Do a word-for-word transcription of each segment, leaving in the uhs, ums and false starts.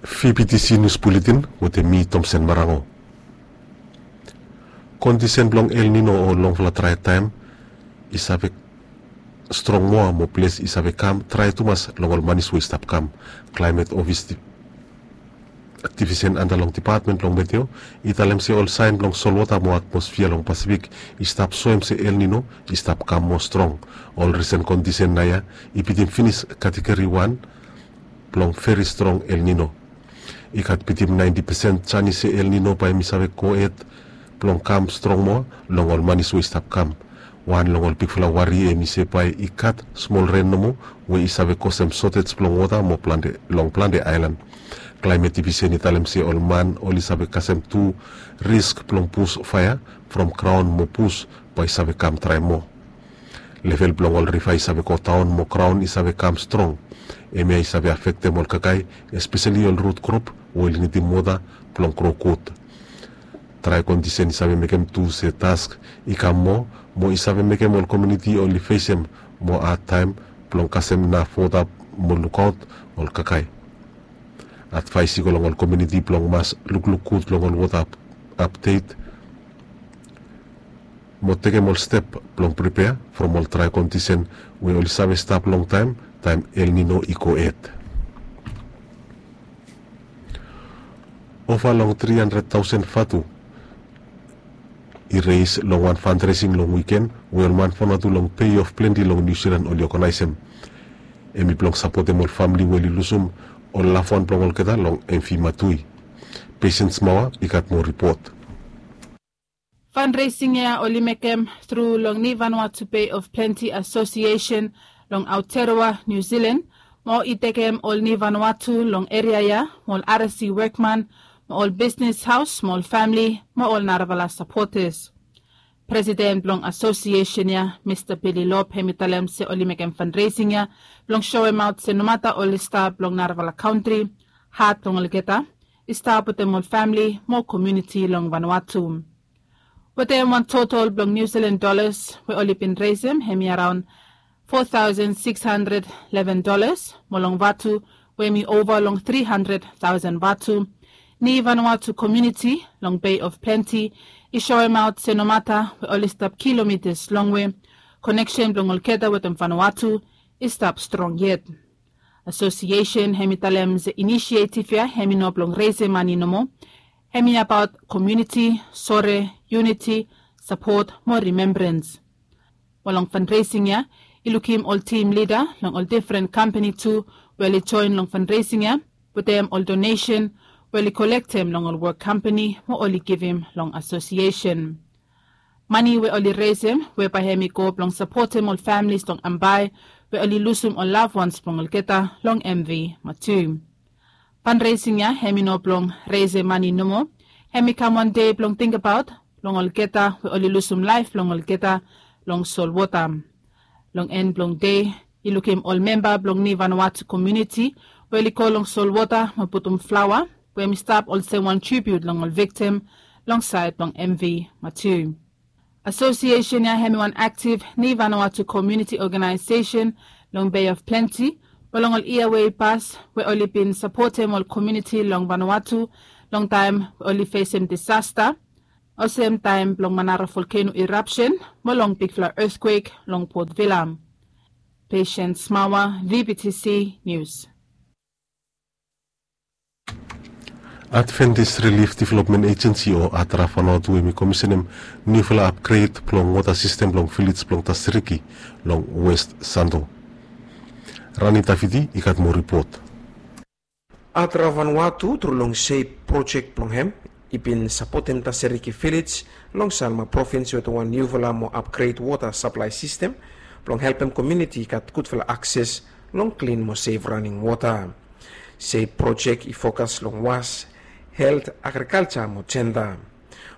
Fibitisi nius buletin wetem mi Tomsen Marango. Kondisen blong El Nino o longfala drae taem i save strong moa mo ples i save kam drae tumas long ol manis we i stap kam. Klaemet ofis divisen anda long depatmen blong meteo i talem se ol saen blong solwota mo atmosfia long Pasifik i stap soem se El Nino i stap kam moa strong. Ol risen kondisen naoia i bitim finis kategori wan blong veri strong El Nino. I gat bitim naenti pesen janis se El Nino bae hemi save gohed blong kam strong moa long ol manis we i stap kam. Wan long ol bigfala wari hemi se bae i gat smol ren nomo we i save kosem sotej blong wota mo plante long plante aelan. Klaemet divisen i talem se ol man oli save kasem tu risk blong bus faea from graon mo bus bae i save kam drae moa. Level blong ol riva i save godaon mo graon i save kam strong. Hemia i save afektem ol kakae, espeseli ol rut krop we oli nidim wota blong gro gud. Drae kondisen i save mekem tu se task i kam moa mo i save mekem ol komuniti oli fesem moa adtaem blong kasem naf wota mo lukaot ol kakae. Advaes i go long ol komuniti blong mas lukluk gud long ol wota apdet mo tekem ol step blong pripea from ol drae kondisen we oli save stap longtaem taem El Nino i gohed. Ova long tri handred taosen vatu i reis long wan fandresing long wiken we ol man Vanuatu long Bay of Plenty long Niu Silan oli oganaesem. Hemi blong sapotem ol famili we oli lusum ol lafwan blong olgeta long M V Matui. Patience Mawa i gat moa ripot. Fundraising ia oli mekem tru long Ni Vanuatu Bay of Plenty Association long Aotearoa, New Zealand, mo i tekem ol Ni Vanuatu long eria ia mo ol R S C wokman mo ol bisnis haos mo ol famili mo ol narafala sapotas. Presiden blong asosiesen ia, Mista Billy Lobb, hemi talem se oli mekem fundraising ia blong soemaot se nomata oli stap long narafala kantri, hat blong olgeta i stap wetem ol famili mo komuniti long Vanuatu. Wetem wan total blong New Zealand dollars we oli bin resem hemi araon four thousand six hundred eleven dollars, mo long vatu we hemi ova long three hundred thousand vatu, Ni Vanuatu komuniti long Bay of Plenty i soemaot se nomata we oli stap kilomitas longwe, koneksen blong olgeta wetem Vanuatu i stap strong yet. Asosiesen hemi talem se inisietif ia hemi no blong resem mane nomo. Hemi abaot komuniti, sore, yuniti, sapot mo rimembrans. Mo long fundraising ia i lukim ol tim lida long ol difren kampani tu we oli joen long fundraising ia wetem ol donesen we oli kolektem long ol wok kampani mo oli givim long asosiesen. Mane we oli resem we bae hemi go blong sapotem ol familis long Ambae we oli lusum ol lafwans blong olgeta long M V Matui. Fundraising ia hemi no blong resem mane nomo. Hemi kam wan dei blong tingbaot blong olgeta we oli lusum laef blong olgeta long solwota. Long en blong dei i lukim ol memba blong Ni Vanuatu komuniti we oli go long solwota mo putum flaoa we hemi stap olsem wan tribiut long ol viktim long saed blong M V Matui. Asosiesen ia hemi wan aktif Ni Vanuatu komuniti oganaesesen long Bay of Plenty, we long ol yia we i pas we oli bin sapotem ol komuniti long Vanuatu longtaem we oli fesem disasta, olsem taem blong Manara volkeno irapsen mo long bigfala etkwek long Port Vila. Patience Mawa, V B T C News. Adventist Relief Development Agency o ADRA Vanuatu hemi komisenem niufala apgred blong wota sistem blong vilej blong Tasiriki long West Santo. Rani Taviti i gat moa ripot. ADRA Vanuatu tru long SAVE projek blong hem i bin sapotem Tasiriki vilej long Salma provins wetem wan niufala mo apgred wota saplae sistem blong helpem komuniti i gat gudfala akses long klin mo sef raning wota. SAVE projek i fokas long was, helt, agrikalja mo jenda.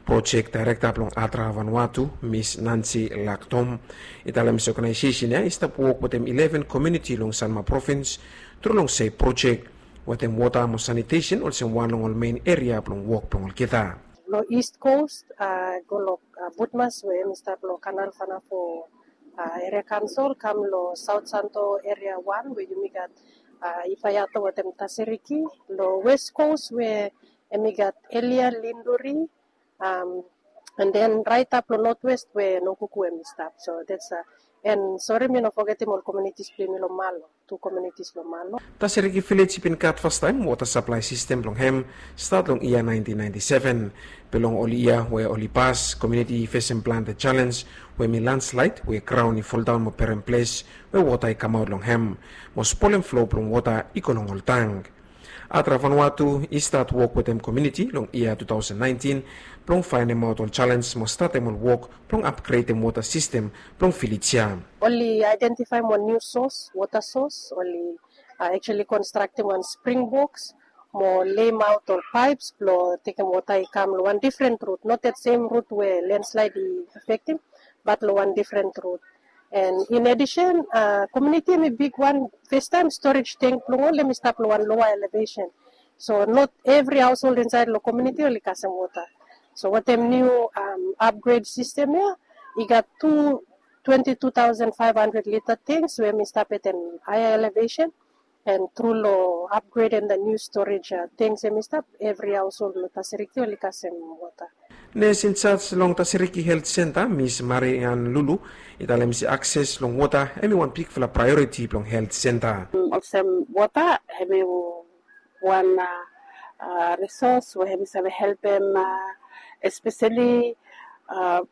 Projek daerekta blong ADRA Vanuatu, Mis Nancy Laktom, i talem se oganaesesen ia i stap wok wetem ileven komuniti long Salma provins tru long SAVE projek, wetem wota mo sanitesen olsem wan long ol mein eria blong wok blong olgeta. Long East Coast, a, go long, a, Butmas we hemi stap long Kanal Fanafo, a, Area Council, kam long South Santo Area One we yumi gat, Ifayato wetem Tasiriki lo West Coast we hemi gat Elia Linduri, and then raitap lo Northwest we Nokuku hemi stap. So that's a, and sori mi no fogetim ol communities blong yumi lo Malo, tu communities lo Malo. Tasiriki village i bin gat fastaem wota saplae sistem blong hem stat long yia nineteen ninety-seven. Be long ol yia we oli pas, komuniti i fesem plante jalenj we hemi landslide we graon i foldaon mo perem ples we wota i kamaot long hem mo spolem flo blong wota i go long ol tank. Atra Vanuatu i stat wok wetem komuniti long yia two thousand nineteen blong faenemaot ol jalenj mo statem ol wok blong apgredem wota sistem blong vilej ya. Oli aedentifaem wan niu sos, wota sos, oli actually konstraktem wan spring boks mo lemaot ol paeps blong tekem wota i kam long wan difren rut, not that same rut we landslide i afektem, bat long wan difren rut. And in addition, komuniti hemi bigwan, fastaem storage tank blong ol hemi stap long wan loa elevation. So not evri haosold insaed long komuniti oli kasem wota. So wetem niu apgred sistem ya, i gat tu twenty two thousand five hundred lita tanks we hemi stap wetem haea elevation. And tru lo apgredem the niu storage tanks hemi stap, evri haosold lo Tasiriki oli kasem wota. Nes injaj long Tasiriki Helt Senta, Mis Marian Lulu, i talem se akses long wota hemi wan bigfala praeoriti blong helt senta. Olsem wota hemi wan risos we hemi save helpem, espeseli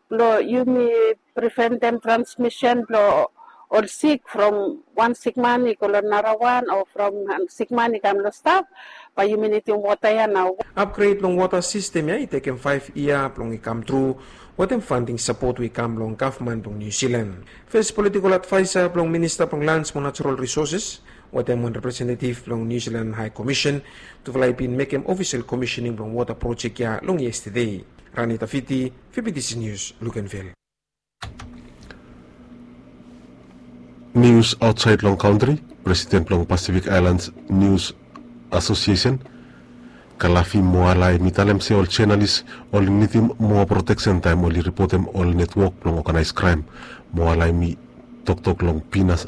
blo yumi preventem transmisen blo ol sik from wan sikman i go lo narawan o from sikman i kam lo stap, bae yumi nidim wota ya nao. Apgred long wota sistem ya i tekem faef yia blong i kamtru wetem fanding sapot we i kam long gavman blong Niu Silan. Fes politikol advaesa blong minista blong lans mo natural risoses wetem wan representetiv blong Niu Silan Hae Komisen, tufala i bin mekem ofisel komisening blong wota projek ya long yestede. Rani Tafiti, V B T C Nius, Luganville. Nius aotsaed long kantri. Presiden blong Pasifik Aelans Nius Asosiesen, Kalafi Moala, hemi talem se ol jenalis oli nidim moa proteksen taem oli ripotem ol netwok blong oganaes kraem. Moala hemi toktok long Pinas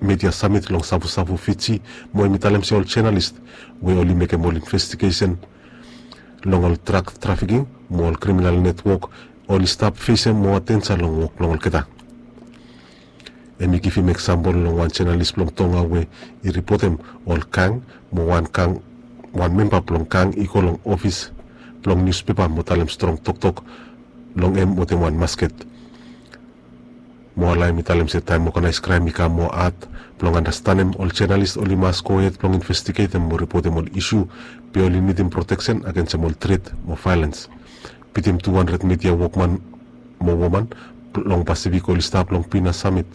Media Samit long Savusavu, Fiji, mo hemi talem se ol jenalis we oli mekem ol investigesen long ol drak trafiking mo ol kriminal netwok oli stap fesem moa denja long wok blong olgeta. Hemi givim eksampol long wan jenalis blong Tonga we i ripotem ol gang mo wan gang, wan memba blong gang i go long ofis blong niuspepa mo talem strong toktok long hem wetem wan masket. Moala hemi talem se taem oganaes kraem i kam moa had blong andastanem, ol jenalis oli mas gohed blong investigetem mo ripotem ol isu, be oli nidim proteksen agensem ol tret mo vaelens. Bitim tu handred media wokman mo woman long Pasifik oli stap long Pinas Samit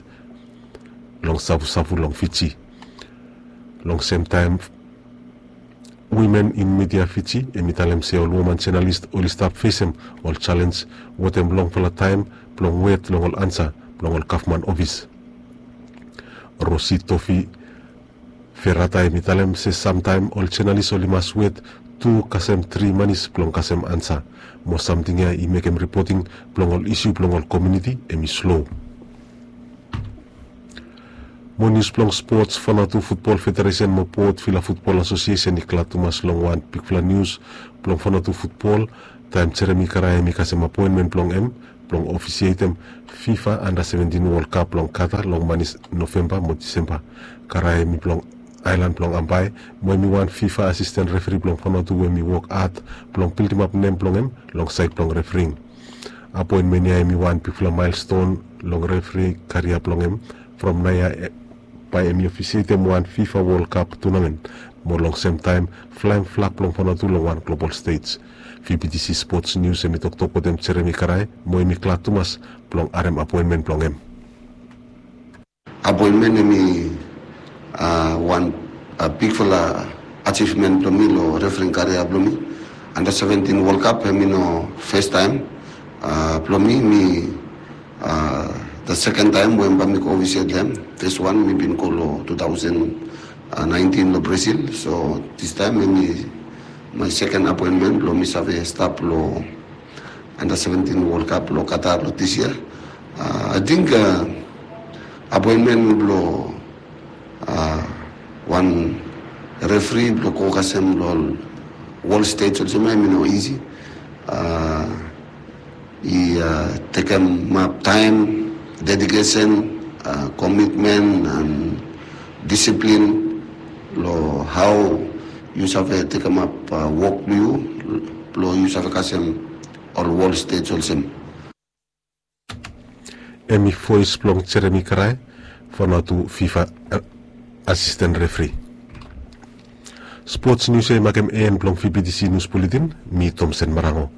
long Savusavu long Fiji. Long semtaem, Women in Media Fiji hemi talem se ol woman jenalis oli stap fesem ol jalenj wetem longfala taem blong wet long ol ansa blong ol gavman ofis. Rosi Tofi Ferata hemi talem se samtaem ol jenalis oli mas wet tu kasem tri manis blong kasem ansa, mo samting ya i mekem ripoting blong ol isu blong ol komuniti hemi slo. Mo nius blong spots, Vanuatu Futbol Federesen mo Port Vila Futbol Asosiesen i glad tumas long wan bigfala nius blong Vanuatu futbol, taem Jeremi Karae hemi kasem apoenmen blong hem blong ofisietem FIFA Under Seventeen World Cup long Qatar long manis Novemba mo Disemba. Karae hemi blong aelan blong Ambae, mo hemi wan FIFA asisten referi blong Vanuatu we hemi wok had blong bildimap nem blong hem long saed blong refering. Apoenmen ya hemi wan bigfala maelston long referi karia blong hem, from naoia bae hemi ofisietem wan FIFA World Cup tunamen, mo long semtaem flaem flag blong Vanuatu long wan global stej. V B T C Spots Nius hemi toktok wetem Jeremi Karae, mo hemi glad tumas blong harem apoenmen blong hem. Apoenmen hemi wan bigfala ajivmen blong mi lo refering karia blong mi. Under Seventeen World Cup hemi no fastaem blong mi. Mi the second time we bae mi go officiate hem. First one mi bin go lo two thousand nineteen lo Brazil. So this time hemi my second apoenmen blong mi save stap lo Under Seventeen World Cup lo Qatar lo this year. Ating apoenmen blo Wan refri blong go kasem long wol stej olsem ya, em i no isi. I tekemap taem, dedikesen, komitmen, an disiplin long hao yu save tekemap wok blong yu blong yu save kasem ol wol stej olsem. Em i voes blong Jeremi Karae, Vanuatu Fifa asisten refri. Spots nius ya i makem en blong VBTC nius buletin. Mi Tomsen Marango.